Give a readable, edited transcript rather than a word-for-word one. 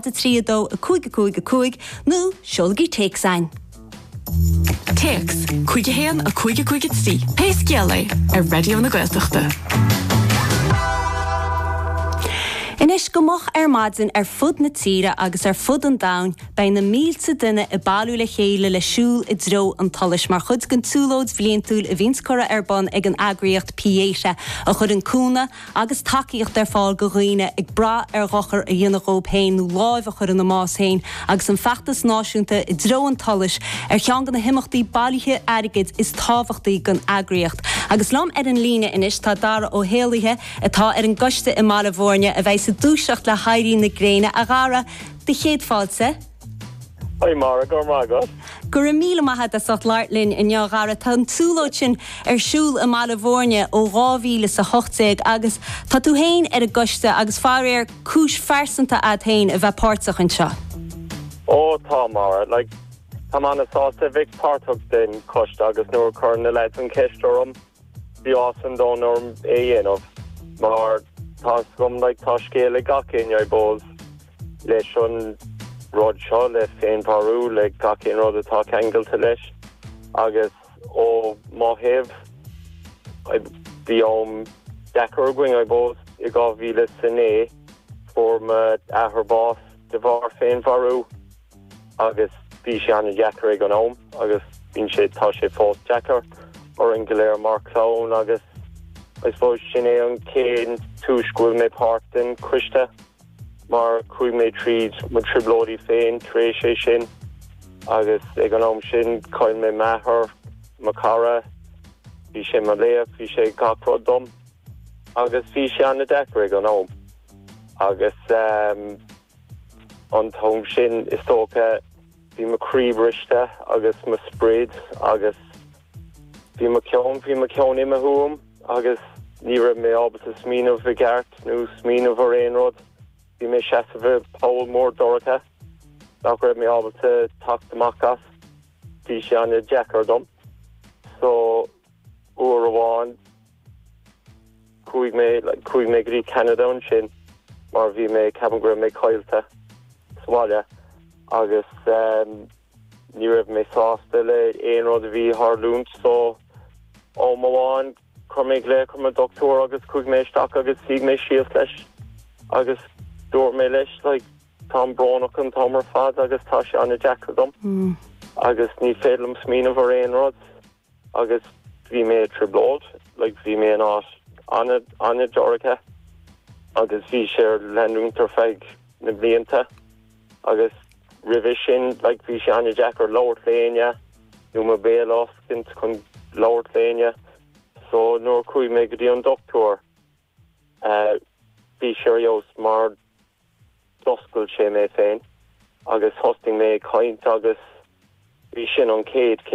3 2 5 5 5 nó seolaigí téacs chugainn. Téacs 5 1 5 5 3 Pé scéal é ar Raidió na Gaeltachta. Anois go moch ar maidin ar fud na tíre agus ar fud an domhain beidh na mílte duine ag bailiú le chéile le siúl i dtreo an tsolais mar chuid den tsiúlóid bhliantúil a bhíonns curtha ar bun ag an eagraíocht Pieta a chuireann cúnamh agus tacaíocht ar fáil go dhaoine ag brath ar dhochar a dhéanamh dhóib féin nó láimh a chur ina mbás féin agus an feachtas náisiúnta I dTreo an tSolais ar cheann de na himeachtaí bailithe airgid is tábhachtaí don eagraíocht. Agus liom ar an líne anois tá Dara Ó hÉallaithe atá ar an gcoiste i mBaile Bhúirne a bheidh ag dúiseacht le héirí na gréine. A Dhara, do chéad fáilte. Hi Máire, go raibh maith agat. Go raibh míle maith agat as ucht labhairt linn inniu, a Dhara. Tá an tsiúlóid sin ar siúl i mBaile Bhúirne ó 2018 agus tá tú féin ar an gcoiste agus faraor cúis phearsanta a'd féin a bheith páirteach anseo. Ó tá, Máire. Like, táim ana-sásta a bheith páirteach den choiste agus nuair a chuir na lads an cheist orm, bhí áthas an domhain orm é a dhéanamh mar tá 'fhios agam, like, tá scéal ag gach éinne, I suppose. leis an rud seo, le féinmharú, le gach aon rud atá ceangailte leis agus ó mo thaobh, bhí am deacair againn, I suppose, i 2009 fuair m'athair bás de bharr féinmharú agus bhí sé an-deacair ag an am agus bíonn sé, tá sé fós deacair orainn go léir mar chlann agus I suppose sin é an chéad túis go bhfuil mé páirt den choiste. mar chuaigh mé tríd mo trioblóidí féin tar éis é sin agus ag an am sin chaill mé m'athair, mo chara, bhí sé mo laoch, bhí sé gach rud dom agus bhí sé an-deacair ag an am agus an t-am sin is dócha bhí mo chroí briste agus mo sprid agus bhí mo cheann, bhí mo cheann imithe uaim. agus ní raibh mé ábalta smaoineamh i gceart nó smaoineamh ar aon rud. Bhí mé seasamh i poll mór dorcha nach raibh mé ábalta teacht amach as. Bhí sé an-deacair dom. So, uair amháin, chuaigh mé, like, chuaigh mé go dtí Ceanada ansin mar bhí mé, ceapaim go raibh mé caillte sa bhaile agus ehm, Ní raibh mé sásta le aon rud a bhí ag tharlúint so am amháin chuir mé glaoch ar mo dochtúir agus chuaigh mé isteach agus shuigh mé síos leis agus dúirt mé leis like táim brónach an t-am ar fad agus tá sé an-deacair dom agus ní féidir liom smaoineamh ar aon rud. agus bhí mé i dtrioblóid, like bhí mé in áit an-dorcha agus bhí sé ar leanúint ar feadh na blianta agus roimhe sin like bhí sé an-deacair labhairt le éinne nó mo bhéal a oscailt chun labhairt le éinne so nuair a chuaigh mé go dtí an dochtúir eh bhí sé ar fheabhas mar d'oscail sé mé féin agus thosnaigh mé ag caint agus bhí sin an chéad chéim.